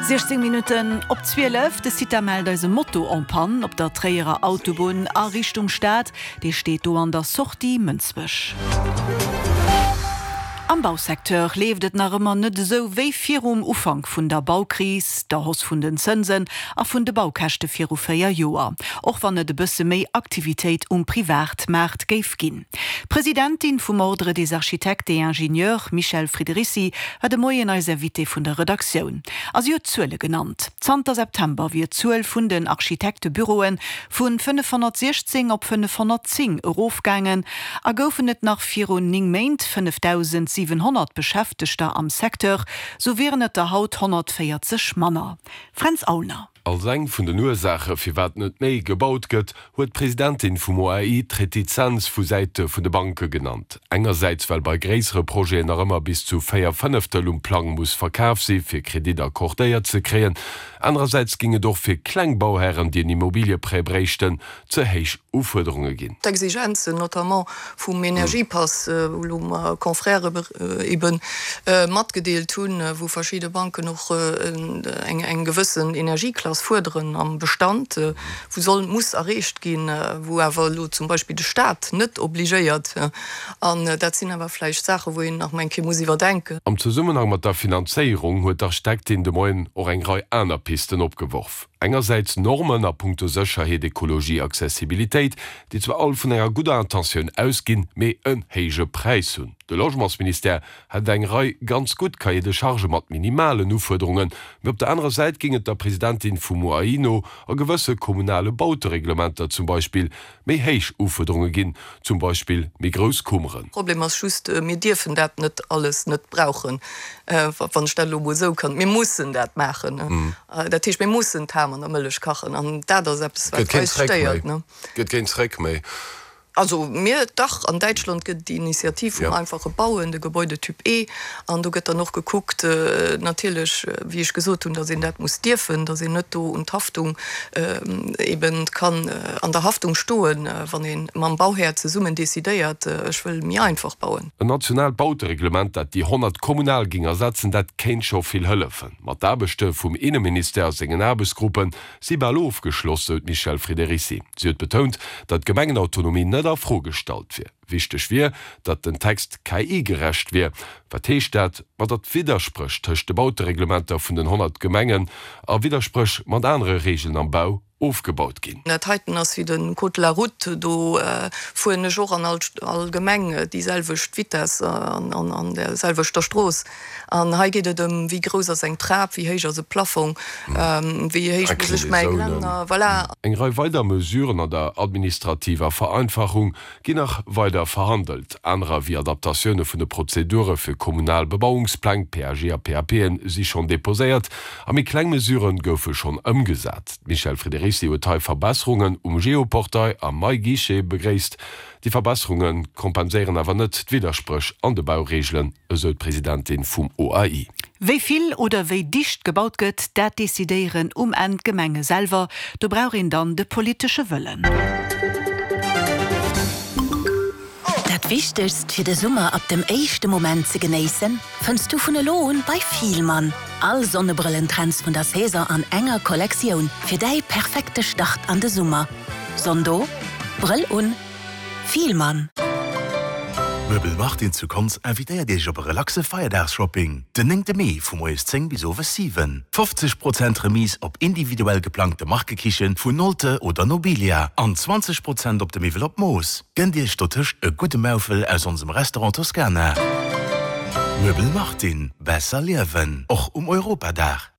16 Minutten op 12, De CITA mellt eis e Moto en panne op der Tréierer Autobunn a Richtung Stad. Dee steet do an der Sortie Mënsbech. Am Bausecteur leeft et nach ëmmer net esou wéi virum Ufank vun der Baukris, der Hausse vun den Zënsen a vun de Baukäschte viru 4 Joer, och wann et e bësse méi Aktivitéit um Privatmaart géif ginn. D'Presidentin vum Ordre des architectes et ingénieurs, Michèle Friederici, war de Moien eis Invitée vun der Redaktioun a si huet Zuele genannt. Zanter September wier d'Zuel vun den Architektebüroe vu 516 op 510 erofgaangen a goufen et nach virun 9 Méint 5.700 Beschäftegter am Secteur, sou wieren et der haut 140 manner. Fränz Aulner. Als eng vun den Ursaache firwat net méi gebaut gëtt, huet d'Presidentin vum OAI d'Retizenz vu Säite vun de Banke genannt. Engersäits well bei gréissere Projeten nach ëmmer bis zu 4 Fënneftel um Plang muss verkaf si fir Kredit accordéiert ze kréien, anerersäits géing et och fir kleng Bauhären, déi en Immobilieprêt bréichten, ze héich Ufuerderunge ginn. D'Exigenzen, notamment vum Energiepass, wou elo mer Confrèrë ebe matgedeelt hunn, wou verschidde Banken och eng gewëssen Energieklass fuerderen am Bestand, wou soll, muss erreecht ginn, wou awer elo zum Beispill de Stat net obligéiert. An dat sinn awer vläicht Saachen, wou een nach emol eng Kéier muss iwwerdenken. Am Zesummenhang mat der Finanzéierung huet d'Architektin de Moien och eng Rei aner Pisten opgeworf. Engersäits Normen a punkto Sécherheet, Ekologie, Accessibilitéit, déi zwar all vun enger gudder Intentioun ausginn, mee en héije Präis hunn. De Logementsministère hätt eng Rei ganz gutt Cahiers de charges mat minimalen Ufuerderungen, mee op der anerer Säit géing et der Presidentin vum OAI no a gewësse kommunale Bautereglementer zum Beispill méi héich Ufuerderunge ginn, zum Beispill méi grouss Kummeren. Problem ass just, mir dierfen dat net alles net brauchen, wann ech dat elo emol esou kann. Mir mussen dat maachen. Dat heescht, mir mussen d'Ham an der Mëllech kachen an dat ass eppes, wat eis stéiert. Gëtt keen Zréck méi. Also mir, dach, an Däitschland gëtt et déi Initiativ vum einfache Bauen, de Gebäudetyp E, an do gëtt dann och gekuckt, natierlech, wéi ech gesot hunn, datt een dat muss dierfen, datt een net do un d'Haftung eben kann an der Haftung stoen, wann ee mam Bauhär zesummen decidéiert, ech wëll méi einfach bauen. En nationaalt Bautereglement, dat déi 100 kommunal géing ersetzen, dat kéint scho vill hëllefen. Ma d'Aarbechte vum Inneministère a sengen Aarbechtsgruppe si bal ofgeschloss, sou d'Michèle Friederici. Si huet betount, datt d'Gemengenautonomie net a Fro gestallt wier. Wichteg wier, datt den Text KI-gerecht wier. Wat heescht dat? Ma datt Widderspréch tëscht de Bautereglementer vun den 100 Gemengen a Widderspréch mat anere Reegelen am Bau ofgebaut ginn. Dat heiten ass wéi de Code de la route, do fueren ech och an all Gemeng déi selwecht Vitesse an där selwechter Strooss. An hei geet et ëm, wéi grouss ass eng Trap, wéi héich ass e Plafong, wéi héich muss ech mäi Gelänner, voilà. Eng Rei weider Mesuren an der administrativer Vereinfachung ginn nach weider verhandelt. Anerer wéi Adaptatioune vun de Prozedure fir kommunal Bebauungspläng, PAG a PAPen, si schonn deposéiert a méi kleng Mesurë goufe schonn ëmgesat. D'Michèle Friederici huet hei Verbesserungen um Geoportail a MyGuichet begréisst. Déi Verbesserunge kompenséieren awer net d'Widderspréch an de Baureegelen, esou d'Presidentin vum OAI. Wéi vill oder wéi dicht gebaut gëtt, dat decidéieren um Enn d'Gemenge selwer. Do brauch een dann de politesche Wëllen. Dat Wichtegst fir de Summer ab dem éischte Moment ze genéissen, fënns du vun elo un bei Fielmann. All Sonnebrëllen-Trends vun der Saison an enger Kollektioun fir däi perfekte Start an de Summer. Sonn do, Brëll un, Fielmann. Möbel Martin zu Konz invitéiert Iech op e relaxe Feierdags-Shopping den 9 Mee vu moies 10 bis owes 7. 50 Prozent Remise op individuell geplangte Markekichen vun Nolte oder Nobilia an 20 Prozent op de Miwwel op Mooss. Gënnt Iech dotëscht e gudde Maufel aus onsem Restaurant Toscana. Möbel Martin, besser liewen, och um Europadag.